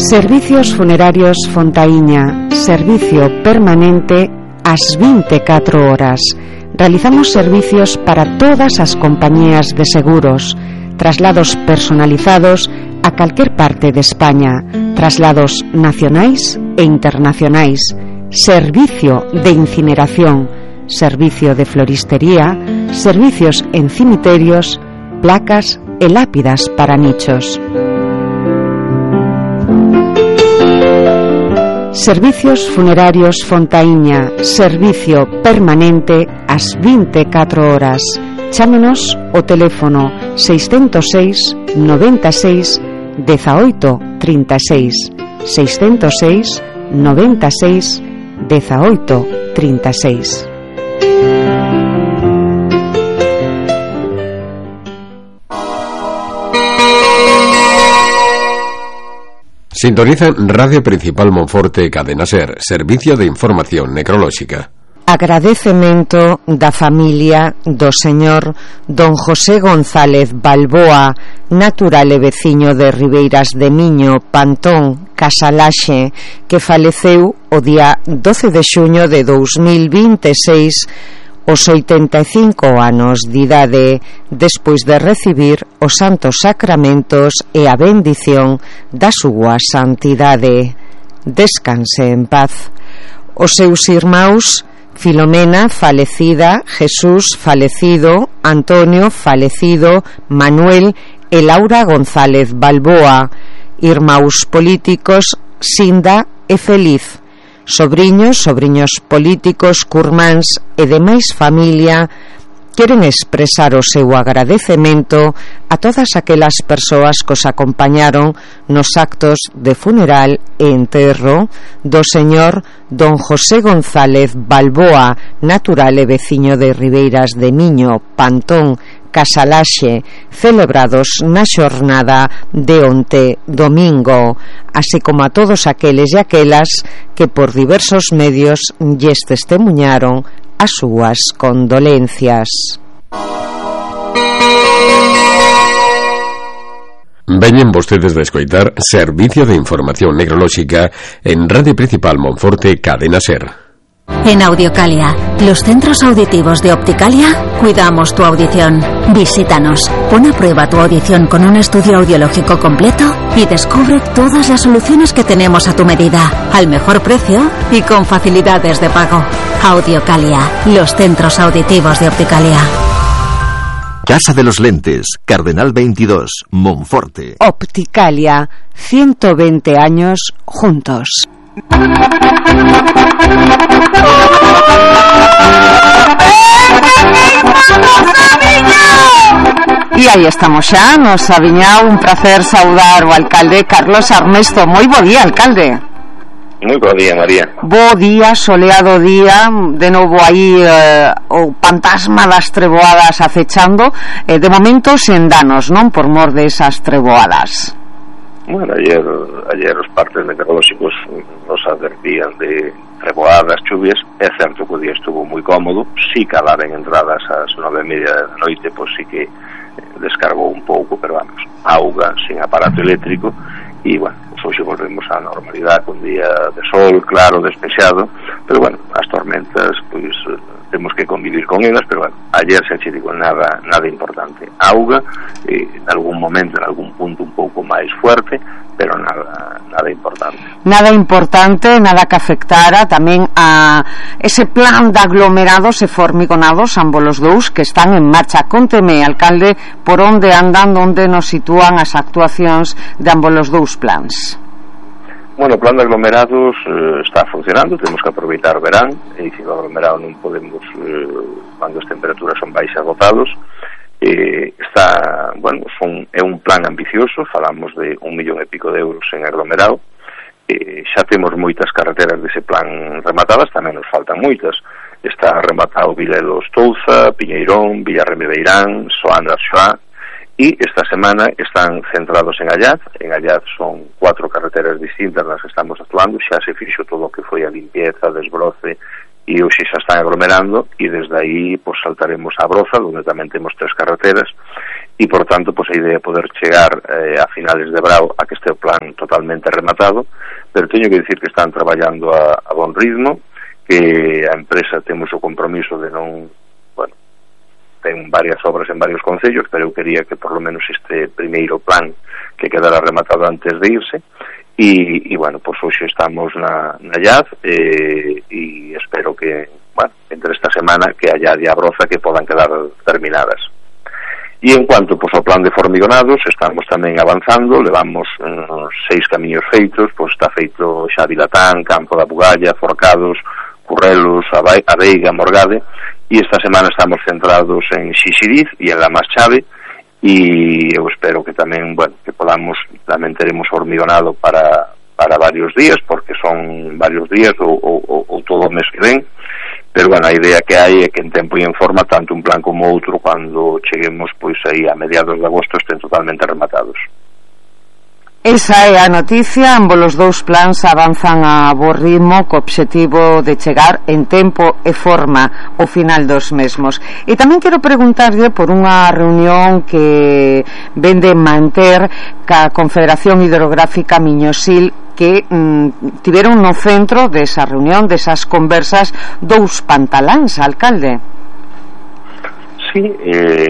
Servicios Funerarios Fontaíña, servicio permanente ás 24 horas. Realizamos servicios para todas as compañías de seguros, traslados personalizados a calquer parte de España, traslados nacionais e internacionais, servicio de incineración, servicio de floristería, servicios en cimiterios, placas e lápidas para nichos. Servicios Funerarios Fontaíña, servicio permanente ás 24 horas. Chámenos ao teléfono 606 96 18 36, 606 96 18 36. Sintoniza Radio Principal Monforte Cadena Ser, servicio de información necrolóxica. Agradecemento da familia do señor don José González Balboa, natural e veciño de Ribeiras de Miño, Pantón, Casalaxe, que faleceu o día 12 de xuño de 2026 os 85 anos de idade, despois de recibir os santos sacramentos e a bendición da súa santidade. Descanse en paz. Os seus irmáns Filomena, falecida, Jesús, falecido, Antonio, falecido, Manuel e Laura González Balboa, irmáns políticos Sinda e Feliz, sobriños políticos, curmáns e demais familia, queren expresar o seu agradecemento a todas aquelas persoas que os acompañaron nos actos de funeral e enterro do señor don José González Balboa, natural e veciño de Ribeiras de Miño, Pantón, Casalaxe, celebrados na xornada de onte domingo, así como a todos aqueles e aquelas que por diversos medios lles testemuñaron as súas condolencias. Veñen vostedes de escoitar Servicio de Información Necrolóxica en Radio Principal Monforte Cadena Ser. En Audiocalia, los centros auditivos de Opticalia, cuidamos tu audición. Visítanos, pon a prueba tu audición con un estudio audiológico completo y descubre todas las soluciones que tenemos a tu medida, al mejor precio y con facilidades de pago. Audiocalia, los centros auditivos de Opticalia. Casa de los Lentes, Cardenal 22, Monforte. Opticalia, 120 años juntos. E aí estamos xa nos Aviñao. Un placer saudar o alcalde Carlos Armesto. Moi bo día, alcalde. Moi bo día, María. Bo día, soleado día. De novo aí o fantasma das treboadas acechando. De momento sen danos, non? Por mor desas treboadas. Bueno, ayer os partes meteorolóxicos nos advertían de treboadas, chuvias. É certo que o día estuvo moi cómodo. Si calaban entradas ás 9:30 da noite, pois sí que descargou un pouco, pero vamos, auga sin aparato eléctrico. E, bueno, hoxe volvemos á normalidade, con día de sol, claro, despexado, pero, bueno, as tormentas, pois, temos que convivir con elas, pero, bueno, ayer se che digo nada importante. Auga, en algún momento, en algún punto un pouco máis fuerte, pero nada importante. Nada importante, nada que afectara tamén a ese plan de aglomerados e formigonados, ambos os dous, que están en marcha. Conteme, alcalde, por onde andan, onde nos sitúan as actuacións de ambos os dous plans. Bueno, o plan de aglomerados está funcionando, temos que aproveitar o verán, e dicir, o aglomerado non podemos, cando as temperaturas son baixas, agotados. Está, bueno, é un plan ambicioso, falamos de 1,5 millón de euros en aglomerado. Xa temos moitas carreteras dese plan rematadas, tamén nos faltan moitas. Está rematado Vilelos Touza, Piñeirón, Villarremebeirán, Soandra Xoá, e esta semana están centrados en Allaz. En Allaz son 4 carreteras distintas nas que estamos actuando, xa se fixo todo o que foi a limpieza, desbroce, e hoxe xa están aglomerando, e desde aí pues, saltaremos a Broza, onde tamén temos 3 carreteras, e, por tanto, pois a idea é poder chegar a finales de brao a que este o plan totalmente rematado, pero teño que dicir que están traballando a bon ritmo, que a empresa temos o compromiso de non, bueno, ten varias obras en varios concellos, pero eu quería que por lo menos este primeiro plan que quedara rematado antes de irse, e bueno, pois hoxe estamos na llaz, e espero que, bueno, entre esta semana que haya diabroza que podan quedar terminadas. E en cuanto pois ao plan de formigonados, estamos tamén avanzando, levamos 6 camiños feitos, pois está feito xa Vilatán, Campo da Bugalla, Forcados, Currelos, a Veiga, Morgade, e esta semana estamos centrados en Xixiriz e en La Chave, e eu espero que tamén, bueno, que podamos, tamén teremos hormigonado para varios días, porque son varios días ou todo o mes que ven, pero, bueno, a idea que hai é que en tempo e en forma, tanto un plan como outro, cando cheguemos, pois, aí a mediados de agosto, estén totalmente rematados. Esa é a noticia, ambos os dous plans avanzan a bo ritmo co obxectivo de chegar en tempo e forma ao final dos mesmos. E tamén quero preguntarlle por unha reunión que vende manter ca Confederación Hidrográfica Miñosil, que tiveron no centro desa reunión, desas conversas, 2 pantaláns, alcalde. Sí,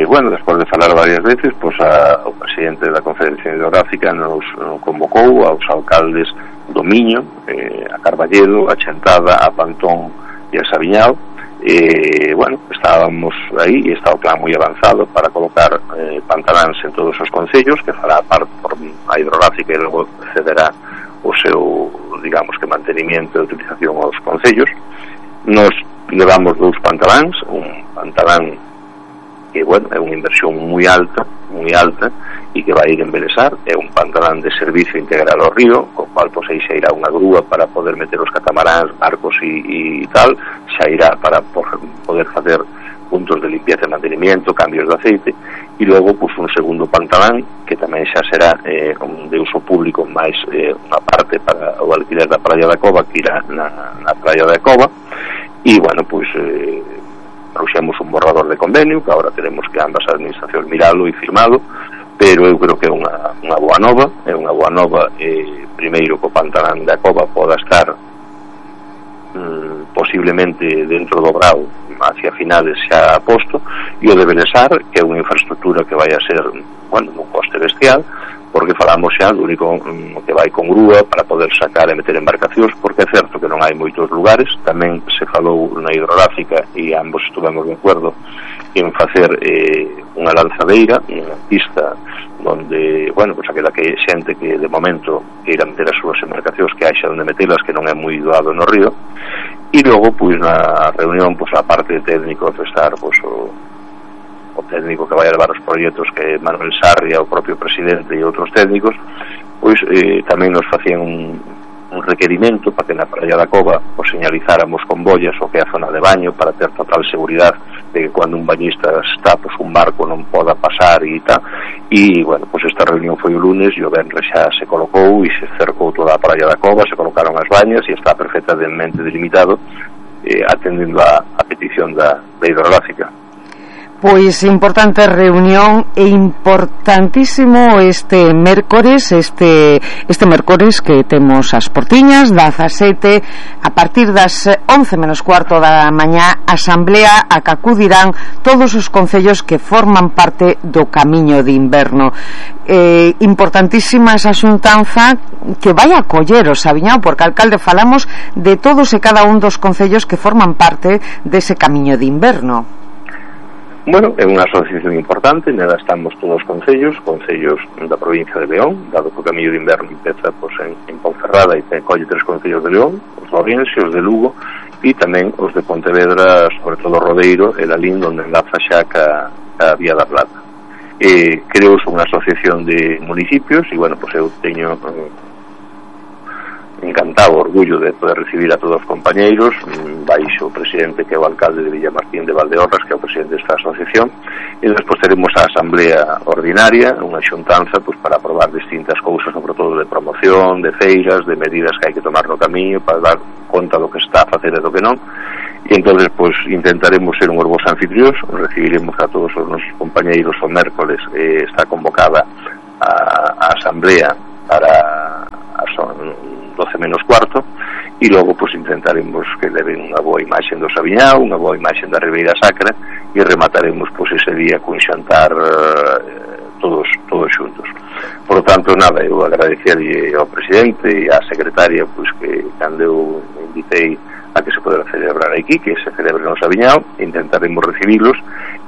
bueno, despois de falar varias veces, pois o presidente da Confederación Hidrográfica nos convocou aos alcaldes do Miño, a Carballedo, a Chantada, a Pantón e a Sabiñao. Bueno, estábamos aí e está o plan moi avanzado para colocar pantaláns en todos os concellos, que fará parte por a hidrográfica e logo cederá o seu, digamos, que mantenimiento e utilización aos concellos. Nos levamos 2 pantaláns, un pantalán que, bueno, é unha inversión moi alta e que vai ir en Belesar, é un pantalán de servicio integral ao río, co cual pois aí xa irá unha grúa para poder meter os catamaráns, barcos e tal, xa irá para poder facer puntos de limpieza e mantenimiento, cambios de aceite, e logo pois un segundo pantalán que tamén xa será de uso público, máis unha parte para o alquiler da Praia da Cova, que irá na Praia da Cova, e, bueno, pois trouxemos un borrador de convenio que agora tenemos que ambas as administracións miralo e firmado, pero eu creo que é unha boa nova, primeiro que o pantalán da Cova poda estar posiblemente dentro do Brao hacia finales xa posto, e o de Belesar, que é unha infraestructura que vai a ser, bueno, un coste bestial, porque falamos xa do único que vai con grúa para poder sacar e meter embarcacións, porque é certo que non hai moitos lugares. Tamén se falou na hidrográfica e ambos estuvemos de acordo en facer unha lanzadeira, unha pista onde, bueno, pois aquela que xente que de momento queira meter as súas embarcacións, que haxa onde metelas, que non é moi doado no río. E logo, pois, na reunión, pois, a parte de técnicos de estar, pois, o técnico que vai a levar os proxectos, que é Manuel Sarria, o propio presidente e outros técnicos, pois tamén nos facían un requerimento para que na Praia da Cova os señalizáramos con boias o que é a zona de baño, para ter total seguridade de que cando un bañista está, pois, un barco non poda pasar e tal. E, bueno, pois esta reunión foi o lunes e o venres xa se colocou e se cercou toda a Praia da Cova, se colocaron as bañas e está perfectamente delimitado, atendendo a petición da hidrográfica. Pois importante reunión e importantísimo este mércores que temos as portiñas das 17 a partir das 11 menos cuarto da mañá, asamblea a que acudirán todos os concellos que forman parte do camiño de inverno. Importantísima esa xuntanza que vai a coller o Sabiñao, porque, alcalde, falamos de todos e cada un dos concellos que forman parte dese camiño de inverno. Bueno, é unha asociación importante, nela estamos todos os concellos da provincia de León, dado que o camiño de inverno empeza pois, en Ponferrada e colle 3 concellos de León, os de Ourense, os de Lugo e tamén os de Pontevedra, sobre todo Rodeiro e Lalín, onde enlaza xa ca Vía da Plata. Creo que é unha asociación de municipios e, bueno, pois eu teño encantado, orgullo de poder recibir a todos os compañeiros, baixo o presidente que é o alcalde de Villamartín de Valdeorras, que é o presidente desta asociación, e despois teremos a asamblea ordinaria, unha xuntanza pois, para aprobar distintas cousas, sobre todo de promoción, de feiras, de medidas que hai que tomar no camiño para dar conta do que está a facer e do que non, e entonces pois intentaremos ser unhos bons anfitrións, recibiremos a todos os nosos compañeiros o mércoles, está convocada a asamblea para as 12 menos cuarto, e logo pois intentaremos que leven unha boa imaxe do Saviñao, unha boa imaxe da Ribeira Sacra, e remataremos pois ese día cun xantar todos xuntos. Por lo tanto, nada, eu agradecerlle ao presidente e á secretaria pois que cando eu invitei a que se podera celebrar aquí, que se celebre no Saviñao, intentaremos recibirlos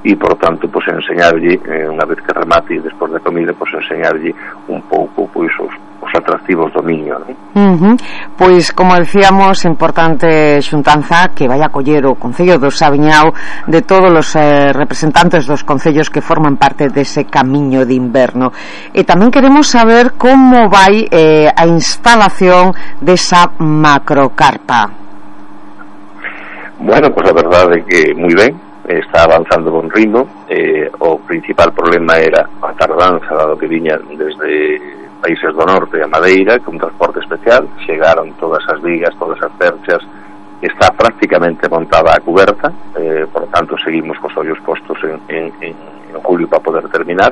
e, por tanto, pois enseñarlle, unha vez que remate e despois da comida, pois enseñarlle un pouco pois os atractivos do Miño, non? Pois, como decíamos, importante xuntanza que vai a coller o Concello do Saviñao de todos os representantes dos concellos que forman parte dese camiño de inverno. E tamén queremos saber como vai a instalación desa macrocarpa. Bueno, pues a verdade é que moi ben, está avanzando con ritmo. O principal problema era a tardanza dado que viña desde países do norte a Madeira, con transporte especial. Chegaron todas as vigas, todas as perchas, está prácticamente montada a cuberta, por tanto seguimos cos ollos postos en julio para poder terminar.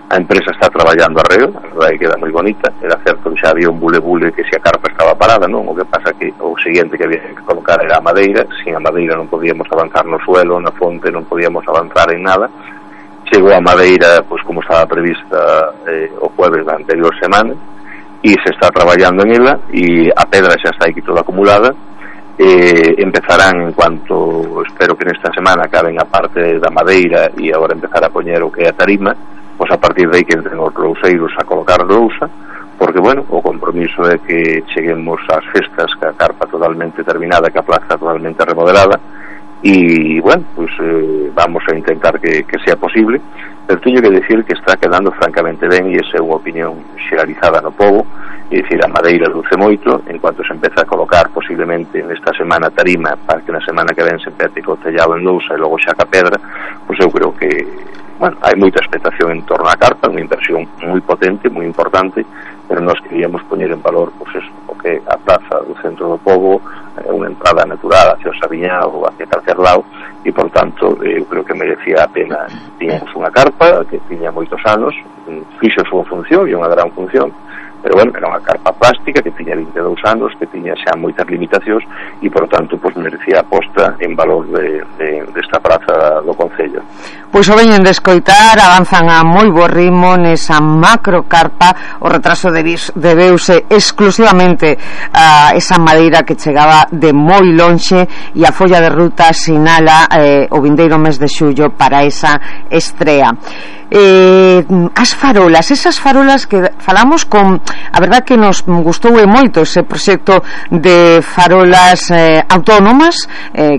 A empresa está traballando arreo, a verdade queda moi bonita. Era certo que xa había un bule que se a carpa estaba parada, non? O que pasa que o seguinte que había que colocar era a madeira. Sin a madeira non podíamos avanzar no suelo, na fonte non podíamos avanzar en nada. Chegou a madeira, pois como estaba prevista o jueves da anterior semana, e se está traballando en ela, e a pedra xa está aquí toda acumulada. Empezarán en cuanto, espero que nesta semana acaben a parte da madeira e agora empezar a poñer o que é a tarima, pois a partir de aí que entren os louseiros a colocar lousa, porque, bueno, o compromiso é que cheguemos ás festas ca carpa totalmente terminada, que a plaza totalmente remodelada, e, bueno, pois vamos a intentar que sea posible, pero teño que decir que está quedando francamente ben, e esa é unha opinión xeralizada no pobo. É dicir, a madeira luce moito. En cuanto se empeza a colocar posiblemente nesta semana tarima, para que na semana que ven se empece co tellado en lousa e logo xa ca pedra, pois eu creo que, bueno, hai moita expectación en torno á carpa, unha inversión moi potente, moi importante, pero nós queríamos poñer en valor pois eso, o que a plaza do centro do pobo, unha entrada natural hacia o Saviñao ou hacia calquer lado, e por tanto eu creo que merecía a pena. Tiñamos unha carpa que tiña moitos anos, fixo a súa función, e unha gran función, pero, bueno, era unha carpa plástica que tiña 22 anos, que tiña xa moitas limitacións, e, por tanto, pois merecía a posta en valor desta praza do Concello. Pois o veñen de escoitar, avanzan a moi bo ritmo nesa macrocarpa. O retraso debeuse exclusivamente a esa madeira que chegaba de moi lonxe, e a folla de ruta sinala o vindeiro mes de xullo para esa estrea. As farolas, esas farolas que falamos con, a verdad que nos gustou moito ese proxecto de farolas autónomas,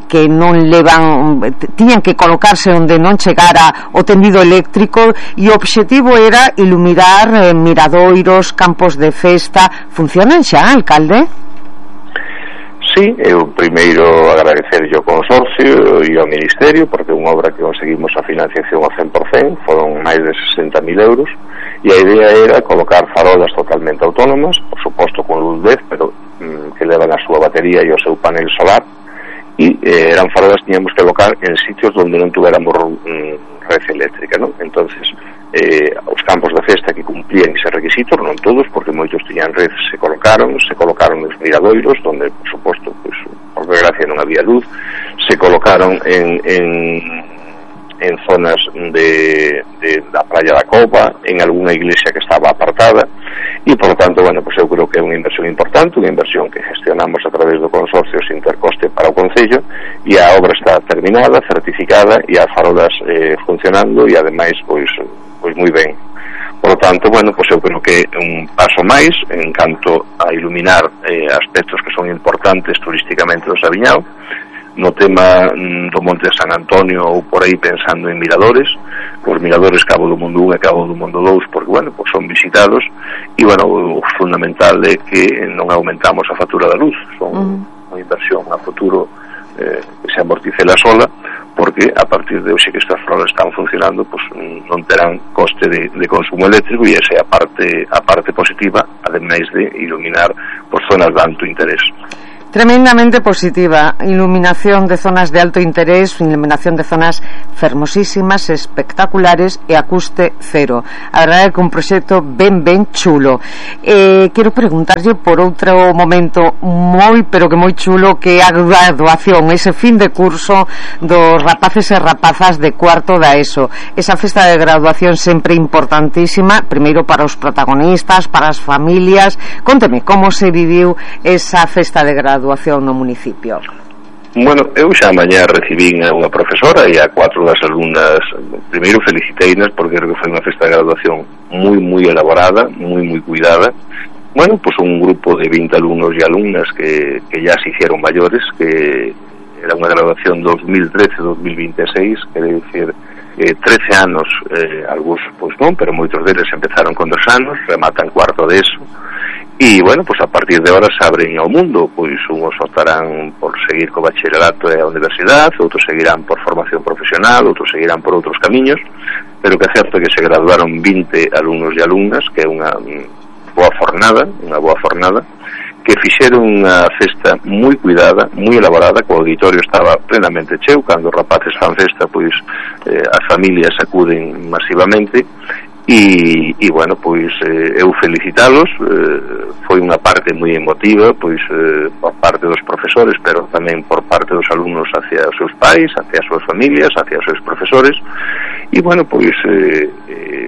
que non levan, tiñan que colocarse onde non chegara o tendido eléctrico, e o obxectivo era iluminar miradoiros, campos de festa. Funcionan xa, alcalde? Sí, eu primeiro agradecerlle ao consorcio e ao Ministerio, porque é unha obra que conseguimos a financiación ao 100%, foron máis de 60.000 euros, e a idea era colocar farolas totalmente autónomas, por suposto con luz LED, pero que levan a súa batería e o seu panel solar, e eran farolas que tiñamos que colocar en sitios onde non tuveramos red eléctrica, non? Entonces, os campos de festa que cumplían ese requisito, non todos, porque moitos tiñan red, se colocaron nos miradoiros, donde, por suposto, pues, por desgracia non había luz, se colocaron en zonas da Praia da Cova, en algunha iglesia que estaba apartada, e, por tanto, bueno, pues eu creo que é unha inversión importante, unha inversión que gestionamos a través do consorcio sin ter coste para o Concello, e a obra está terminada, certificada, e as farolas funcionando, e ademais, pois moi ben. Por lo tanto, bueno, pues eu creo que é un paso máis en canto a iluminar aspectos que son importantes turísticamente do Saviñao. No tema do Monte de San Antonio, ou por aí pensando en miradores, os miradores Cabo do Mundo 1 e Cabo do Mundo 2, porque, bueno, pues son visitados, e, bueno, o fundamental é que non aumentamos a factura da luz. Son unha inversión a futuro que se amorticela sola, porque a partir de hoxe que estas farolas están funcionando, pues non terán coste de consumo eléctrico, e esa é a parte positiva, ademais de iluminar por zonas de alto interés. Tremendamente positiva, iluminación de zonas de alto interés, iluminación de zonas fermosísimas, espectaculares e a custe cero. A verdade é que un proxecto ben chulo. Quero preguntarlle por outro momento moi, pero que moi chulo, que a graduación, ese fin de curso dos rapaces e rapazas de cuarto da ESO. Esa festa de graduación sempre importantísima, primeiro para os protagonistas, para as familias. Conteme como se viviu esa festa de graduación no municipio. Bueno, eu xa mañá recibín a unha profesora e a 4 das alumnas. Primeiro feliciteinas porque creo que foi unha festa de graduación moi elaborada, moi cuidada. Bueno, pues un grupo de 20 alumnos e alumnas que ya se hicieron mayores, que era unha graduación 2013-2026, quere dicir 13 anos, algúns pois non, pero moitos deles empezaron con 2 anos, rematan cuarto de eso. E, bueno, pues a partir de ahora se abren ao mundo, pois unhos optarán por seguir co bacharelato e a universidade, outros seguirán por formación profesional, outros seguirán por outros camiños, pero que é certo que se graduaron 20 alumnos e alumnas, que é unha boa fornada, que fixeron unha festa moi cuidada, moi elaborada, co auditorio estaba plenamente cheo, cando os rapaces fan festa, pois as familias acuden masivamente. E bueno, pois eu felicitalos, foi unha parte moi emotiva, pois por parte dos profesores, pero tamén por parte dos alumnos hacia os seus pais, hacia as súas familias, hacia os seus profesores. E bueno, pois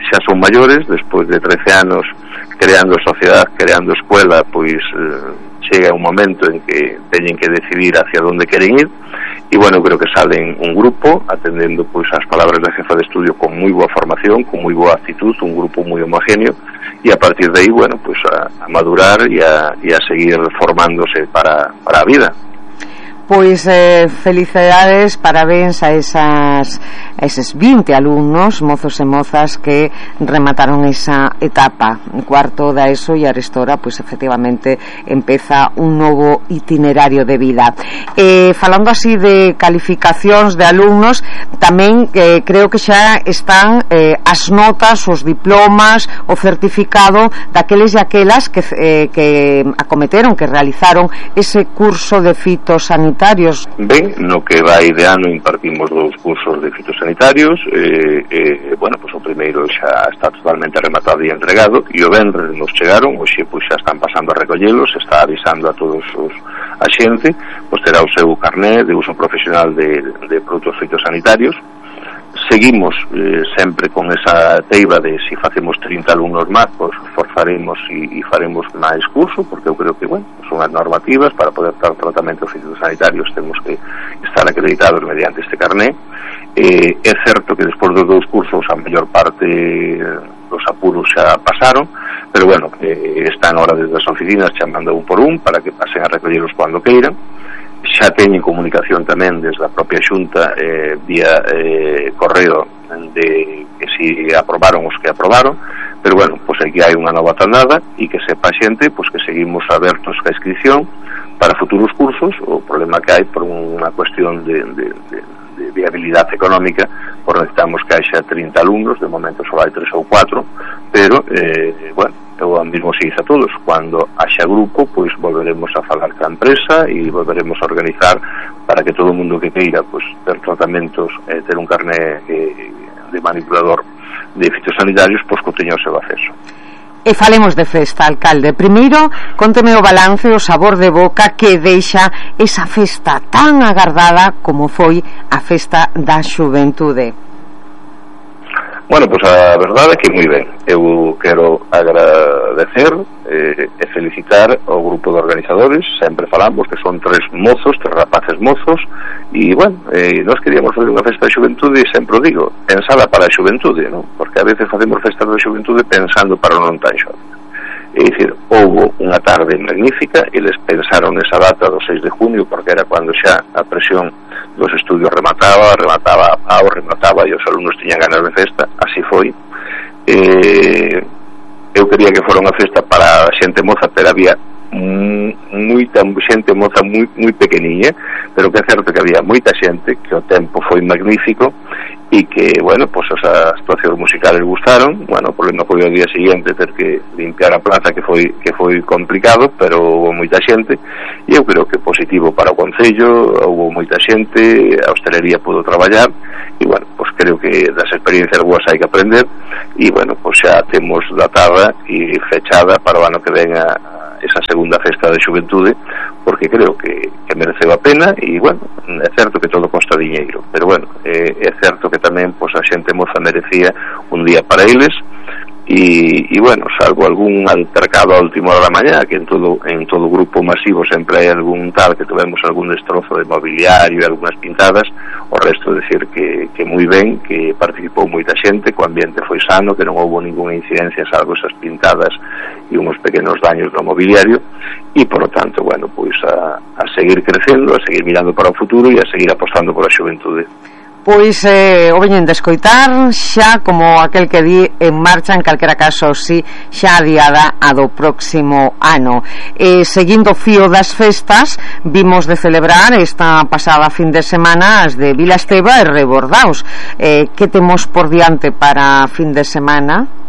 xa son maiores, despois de 13 anos creando sociedade, creando escuela, pois chega un momento en que teñen que decidir hacia onde queren ir. E bueno, creo que salen un grupo atendendo pois as palabras da jefa de estudio con moi boa formación, con moi boa actitud, un grupo moi homogéneo, e a partir de aí, bueno, pois a madurar e a seguir formándose para a vida. Pois felicidades, parabéns a eses 20 alumnos, mozos e mozas que remataron esa etapa cuarto da ESO e arestora, pois efectivamente empeza un novo itinerario de vida. Falando así de calificacións de alumnos, tamén creo que xa están as notas, os diplomas, o certificado daqueles e aquelas que acometeron, que realizaron ese curso de fitosanitarios. Ben, no que vai de ano impartimos 2 cursos de fitosanitarios. Bueno, pues o primeiro xa está totalmente rematado e entregado, e o venres nos chegaron, hoxe pues xa están pasando a recollelos, está avisando a todos a xente, pues terá o seu carné de uso profesional de produtos fitosanitarios. Seguimos sempre con esa teiba de si facemos 30 alumnos máis, pues forzaremos e faremos máis curso, porque eu creo que, bueno, son as normativas para poder dar tratamentos fitosanitarios, temos que estar acreditados mediante este carné. É certo que despois dos 2 cursos a mellor parte dos apuros xa pasaron, pero bueno, están ahora desde as oficinas chamando un por un para que pasen a recolleros cando queiran. Xa teñen comunicación tamén desde a propia Xunta vía correo de que si aprobaron os que aprobaron, pero bueno, pois aquí hai unha nova tandada e que sepa a xente pois que seguimos abertos ca inscripción para futuros cursos. O problema que hai por unha cuestión de viabilidade económica, por necesitamos que haxa 30 alumnos, de momento só hai 3 ou 4, pero bueno, eu mesmo se dice a todos, cando haxa grupo, pois volveremos a falar ca empresa e volveremos a organizar para que todo o mundo que queira pois ter tratamentos, ter un carné de manipulador de fitosanitarios, pois que teña o seu acceso. E falemos de festa, alcalde. Primeiro, conteme o balance, o sabor de boca que deixa esa festa tan agardada como foi a festa da xuventude. Bueno, pues a verdade é que moi ben. Eu quero agradecer e felicitar ao grupo de organizadores. Sempre falamos que son 3 mozos, 3 rapaces mozos, e, bueno, nós queríamos fazer unha festa de xuventude, e sempre o digo, pensada para a xuventude, non? Porque a veces facemos festas de xuventude pensando para o non tan xove. É dicir, houve unha tarde magnífica, eles pensaron nesa data do 6 de junio, porque era cando xa a presión dos estudios remataba e os alumnos tiñan ganas de festa. Así foi. Eu quería que fora unha festa para a xente moza, pero había moita xente moza moi pequeniña, pero que é certo que había moita xente, que o tempo foi magnífico, e que, bueno, pues as actuacións musicales gustaron. Bueno, o problema foi ao día seguinte ter que limpiar a plaza, que foi complicado, pero houve moita xente, e eu creo que positivo para o Concello, houve moita xente, a hostelería pudo traballar, e, bueno, pues creo que das experiencias boas hai que aprender, e, bueno, pues xa temos datada e fechada para o ano que venga esa segunda festa de xuventude, porque creo que mereceu a pena, e, bueno, é certo que todo costa diñeiro, pero, bueno, é certo que tamén, pois, a xente moza merecía un día para eles, e bueno, salvo algún altercado a última hora da mañá, que en todo grupo masivo sempre hai algún tal, que tuvemos algún destrozo de mobiliario e algunhas pintadas, o resto decir que moi ben, que participou moita xente, que o ambiente foi sano, que non houve ninguna incidencia salvo esas pintadas e uns pequenos daños no mobiliario, e por lo tanto, bueno, pois a seguir crecendo, a seguir mirando para o futuro e a seguir apostando por a xuventude. Pois o veñen de escoitar xa, como aquel que di, en marcha, en calquera caso, si xa adiada a do próximo ano. Seguindo o fío das festas, vimos de celebrar esta pasada fin de semana as de Vila Esteva e Rebordaos. Que temos por diante para fin de semana?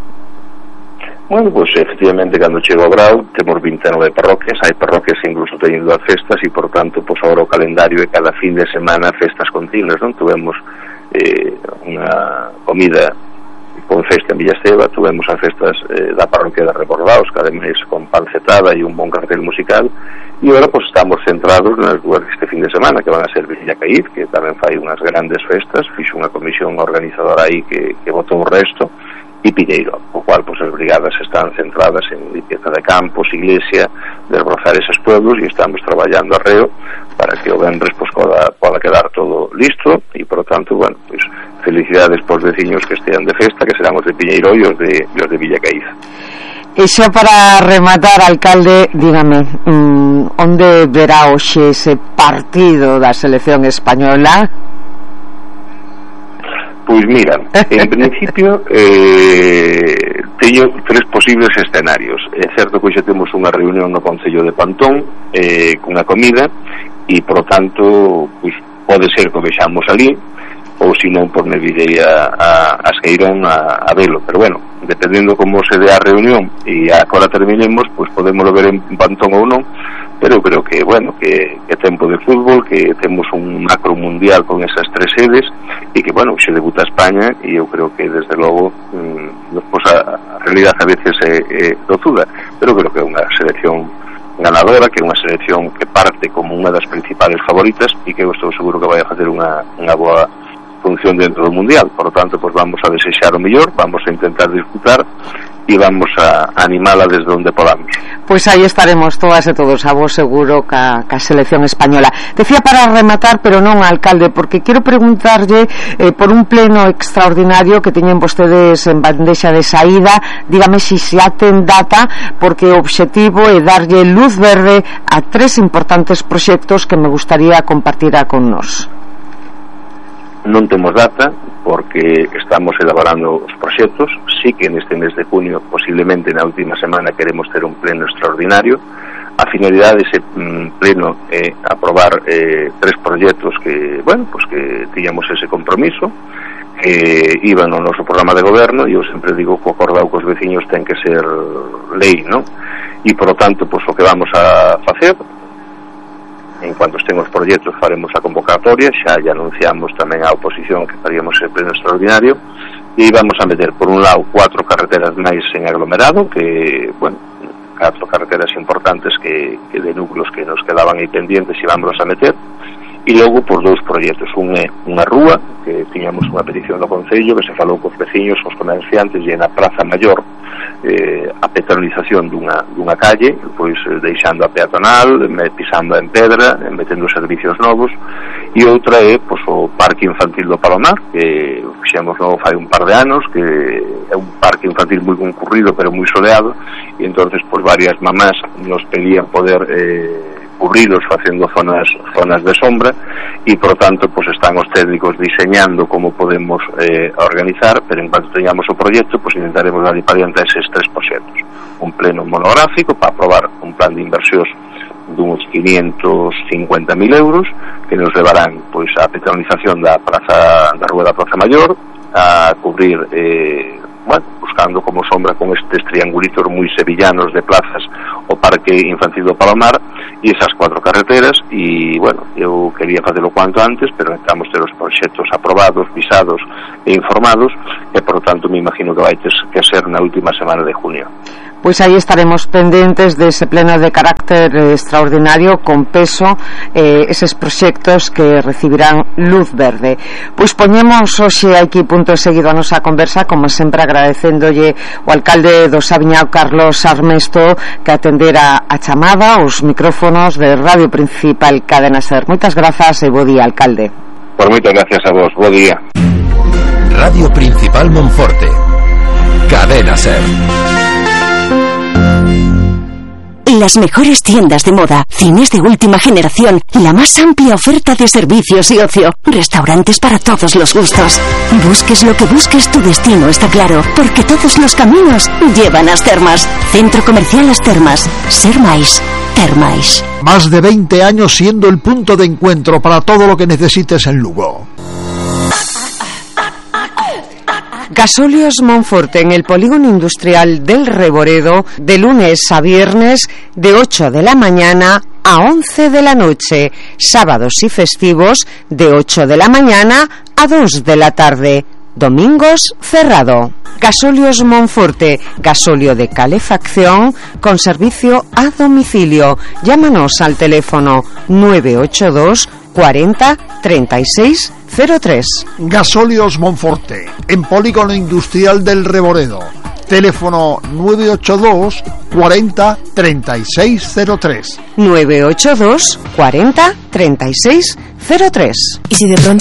Bueno, pues efectivamente, cando chego ao grau temos 29 parroquias, hai parroquias que incluso teñen dúas festas, e por tanto, pues agora o calendario é cada fin de semana festas continuas, non? Tuvemos unha comida con festa en Villa Esteva, tuvemos as festas da parroquia de Rebordaos, que ademais con pancetada e un bon cartel musical, e agora pues estamos centrados nas dúas este fin de semana, que van a ser Villa Caíz, que tamén fai unhas grandes festas, fixo unha comisión organizadora aí que botou o resto, e Piñeiro, o cual pues as brigadas están centradas en limpieza de campos, iglesia, desbrozar eses pueblos, e estamos traballando arreo para que o venres pues poda quedar todo listo, e por lo tanto, bueno, pues felicidades pos veciños que estean de festa, que serán os de Piñeiro e os de Villa Caíz. E xa para rematar, alcalde, dígame, onde verá hoxe ese partido da selección española? Pois mira, en principio teño tres posibles escenarios. É certo que hoxe temos unha reunión no Concello de Pantón cunha comida, e por tanto pois pode ser que o vexamos ali, ou se non por me virei a Esqueirón a velo, pero bueno, dependendo como se dé a reunión e agora terminemos, pois podemos ver en Pantón ou non, pero eu creo que, bueno, que tempo de fútbol, que temos un macro mundial con esas tres sedes, e que, bueno, se debuta España, e eu creo que, desde logo, pues a realidad a veces é tozuda, pero creo que é unha selección ganadora, que é unha selección que parte como unha das principales favoritas, e que eu estou seguro que vai a facer unha boa función dentro do mundial. Por lo tanto, pues vamos a desexar o mellor, vamos a intentar disputar e vamos a animala desde onde podamos. Pois aí estaremos todas e todos, a vos seguro, ca selección española. Decía para rematar, pero non, alcalde, porque quero preguntarlle por un pleno extraordinario que teñen vostedes en bandexa de saída. Dígame se xa ten data, porque o obxectivo é darlle luz verde a tres importantes proxectos que me gustaría compartir con nós. Non temos data, porque estamos elaborando os proxectos. Sí que neste mes de junio, posiblemente na última semana, queremos ter un pleno extraordinario. A finalidade dese pleno é aprobar tres proxectos que, bueno, pues que tiñamos ese compromiso, que iban no noso programa de goberno, e eu sempre digo que o acordado cos veciños ten que ser lei, non? E, por lo tanto, pues o que vamos a facer, en cuanto estén os proxectos, faremos a convocatoria, xa anunciamos tamén a oposición que faríamos ese pleno extraordinario, e vamos a meter, por un lado, 4 carreteras máis en aglomerado, que, bueno, 4 carreteras importantes que de núcleos que nos quedaban aí pendientes, e vamos a meter, e logo por 2 proxectos. Un é unha rúa, que tiñamos unha petición do Concello, que se falou cos veciños, cos comerciantes, e na Praza Maior, a peatonalización dunha calle, pois deixando a peatonal, pisando en pedra, metendo servicios novos, e outra é pois, o Parque Infantil do Palomar, que fixemos novo fai un par de anos, que é un parque infantil moi concurrido, pero moi soleado, e entonces pois varias mamás nos pedían poder cubrilos facendo zonas de sombra, e por tanto pues están os técnicos diseñando como podemos organizar, pero en cuanto teñamos o proxecto pues intentaremos dar para diante eses tres proxectos. Un pleno monográfico para aprobar un plan de inversións duns 550.000 euros, que nos levarán pois a petronización da Rúa da Praza Maior, a cubrir buscando como sombra con estes triangulitos moi sevillanos de plazas o Parque Infantil do Palomar e esas 4 carreteras. E eu quería facelo cuanto antes, pero necesitamos ter os proxectos aprobados, visados e informados, e por tanto me imagino que vai ter que ser na última semana de junio. Pois aí estaremos pendentes dese pleno de carácter extraordinario con peso, eses proxectos que recibirán luz verde. Pois poñemos hoxe aquí punto seguido a nosa conversa, como sempre agradecéndolle o alcalde do Saviñao, Carlos Armesto, que atendera a chamada os micrófonos de Radio Principal Cadena Ser. Moitas grazas e bo día, alcalde. Por moitas gracias a vos, bo día. Radio Principal Monforte, Cadena Ser. Las mejores tiendas de moda, cines de última generación, la más amplia oferta de servicios y ocio, restaurantes para todos los gustos. Busques lo que busques, tu destino está claro, porque todos los caminos llevan a As Termas. Centro Comercial As Termas. Ser máis, ter máis. Más de 20 años siendo el punto de encuentro para todo lo que necesites en Lugo. Gasóleos Monforte, en el polígono industrial del Reboredo, de lunes a viernes, de 8 de la mañana a 11 de la noche, sábados y festivos, de 8 de la mañana a 2 de la tarde, domingos cerrado. Gasóleos Monforte, gasóleo de calefacción con servicio a domicilio. Llámanos al teléfono 982 40 36 03. Gasóleos Monforte, en polígono industrial del Reboredo. Teléfono 982 40 36 03. 982 40 36 03. ¿Y si de pronto